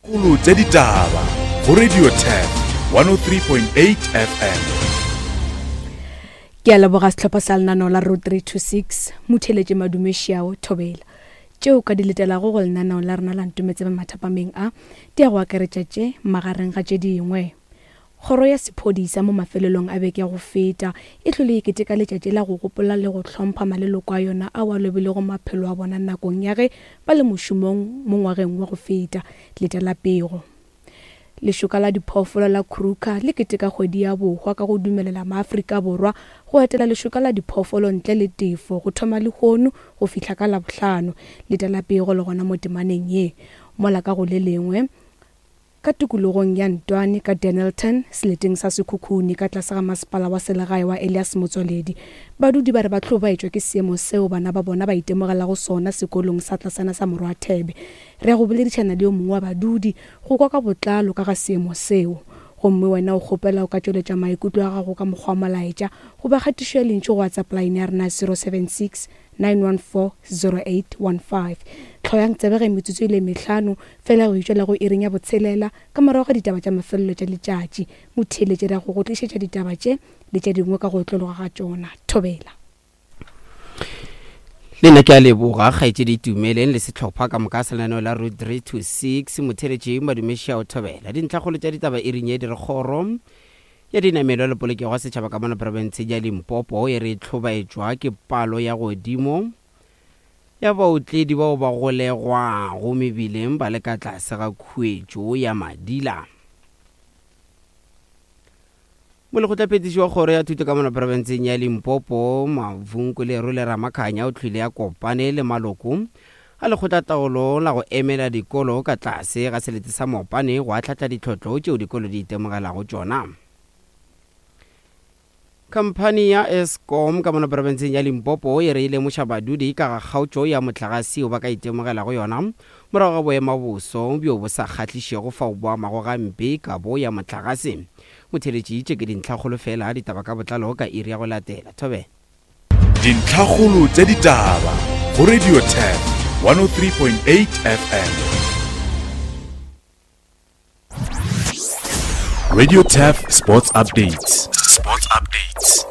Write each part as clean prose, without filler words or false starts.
Kgolo tša ditaba go Radio Turf 103.8 FM. Ke a leboga sehlopha sa lenaneo la Road 326, Motheeletše Madume Šiao Thobela. Tšeo ka di letelago go lenaneo la rena la Ntometsebe mathapameng a, di a go akaretša tše, magareng ga tše dingwe. Kgoro ya Sephodisa mo mafelelong a beke ya go feta e hlwele e keteka letšatši la go gopola le go hlompha maleloko a yona ao a lobilego maphelo a bona nakong ya ge ba le mošomong mo ngwageng wa go feta. Letela pego. Lešoka la diphoofolo la Kruger le keteka kgwedi ya bohwa ka go dumelela maAfrika Borwa go etela lešoka la diphoofolo ntle le tefo go thoma lehono go fihla ka Labohlano. Letela pego le gona mo temaneng ye. Mola ka go le lengwe, Ka tikologong ya Ntwane ka Dennilton, seleteng sa Sekhukhune ka tlase ga masepala wa selegae wa Elias Motswaledi, badudi ba re ba hlobaetšwa ke seemo seo bana ba bona ba itemogelago sona sekolong sa tlasana sa Morwathebe. Re ya go boledišana le yo mongwe wa badudi go kwa ka botlalo ka ga seemo seo. Gomme wena o kgopela o ka tšweletša maikutlo a gago ka mokgwa wa molaetša goba kgatišo ya lentšu go WhatsApp line ya rena ya 076 914-0815. Hloyang tsebe ge metsotso e le mehlano feela go itšwela go iring ya botshelela ka morago ga ditaba tša mafelelo tša letšatši. Motheeletši re ya go go tlišetša ditaba tše le tše dingwe ka go otlologa ga tšona. Thobela. Le nna ke a leboga kgaetšedi Itumeleng le sehlopha ka moka sa lenaneo la Route 3 to 6. Motheeletši Madumešiao Thobela. Dintlhakgolo tša ditaba iring ye di re kgoro ya dinamelwa le polokego ya setšhaba ka mono profenseng ya Limpopo e re e hlobaetšwa ke palo ya godimo ya baotledi bao ba golegwago mebileng ba le ka tlase ga khuetšo ya madila. Molekgotlaphethiši wa kgoro ya thuto ka mono profenseng ya Limpopo, Mavunku Lerole Ramakhanya o hlwile a kopane le maloko a lekgotlataolo la go emela dikolo ka tlase ga selete sa Mopane go ahlahla ditlhotlo tšeo dikolo di itemogelago tšona. Khamphani ya Eskom ka mono profenseng ya Limpopo e re e lemoša badudi ka ga kgaotšo ya mohlagase yeo ba ka itemogelago yona morago ga boemaboso bjo bo sa kgahlišego fao bo amago gampe kabo ya mohlagase. Motheeletši, tše ke dintlhakgolo fela, ditaba ka botlalo ka iri ya go latela. Thobela. Dintlhakgolo tša ditaba go Radio Turf 103.8 FM. Radio Turf Sports Updates. Sports Updates.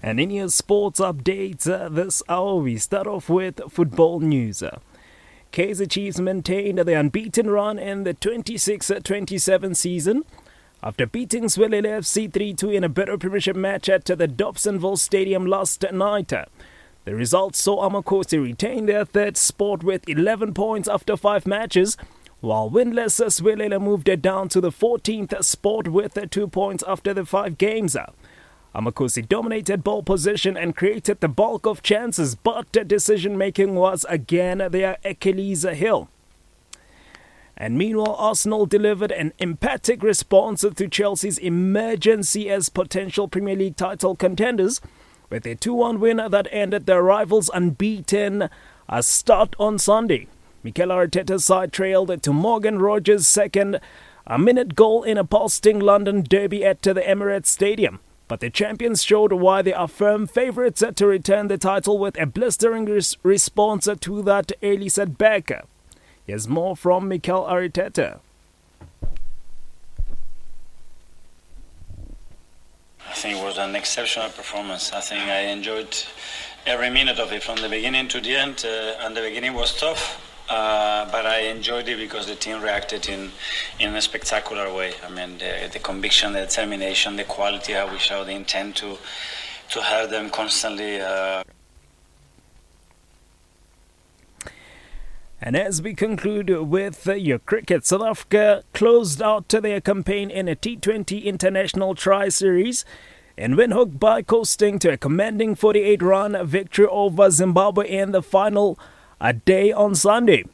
And in your sports updates uh, this hour, we start off with football news. Kaizer Chiefs maintained the unbeaten run in the 26-27 season after beating Siwelele FC 3-2 in a better Premiership match at the Dobsonville Stadium last night. The result saw Amakhosi retain their third spot with 11 points after five matches, while winless Siwelele moved it down to the 14th spot with 2 points after the five games. Amakhosi dominated ball position and created the bulk of chances, but decision making was again their Achilles heel. And meanwhile, Arsenal delivered an emphatic response to Chelsea's emergency as potential Premier League title contenders with a 2 1 win that ended their rivals' unbeaten a start on Sunday. Mikel Arteta's side trailed to Morgan Rogers' second a minute goal in a pulsing London derby at the Emirates Stadium. But the champions showed why they are firm favourites to return the title with a blistering res- response to that early setback. Here's more from Mikel Arteta. I think it was an exceptional performance. I think I enjoyed every minute of it from the beginning to the end. Uh, and the beginning was tough, uh, but I enjoyed it because the team reacted in, in a spectacular way. I mean, the, the conviction, the determination, the quality, how we showed the intent to, to have them constantly. Uh, And as we conclude with your cricket, South Africa closed out their campaign in a T20 International Tri Series in Windhoek by coasting to a commanding 48 run victory over Zimbabwe in the final a day on Sunday.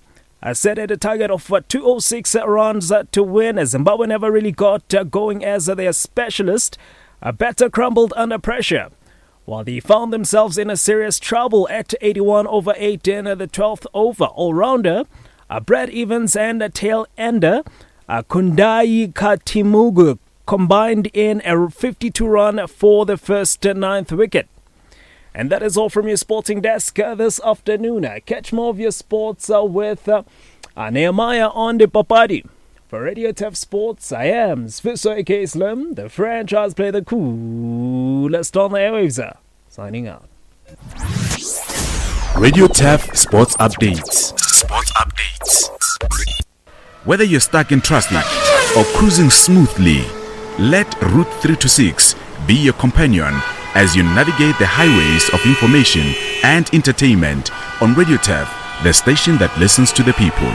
I set at a target of 206 runs to win. Zimbabwe never really got going as their specialist. A better crumbled under pressure. While they found themselves in a serious trouble at 81 over 8 in the 12th over, all-rounder uh, Brad Evans and tail ender uh, Kundai Katimugu combined in a 52 run for the first ninth wicket. And that is all from your sporting desk uh, this afternoon. Uh, catch more of your sports uh, with uh, Nehemiah on the Papadi. For Radio Turf Sports, I am Sfiso AK Slim, the franchise player, the coolest on the airwaves. Signing out. Radio Turf Sports Updates. Sports Updates. Whether you're stuck in traffic or cruising smoothly, let Route 326 be your companion as you navigate the highways of information and entertainment on Radio Turf, the station that listens to the people.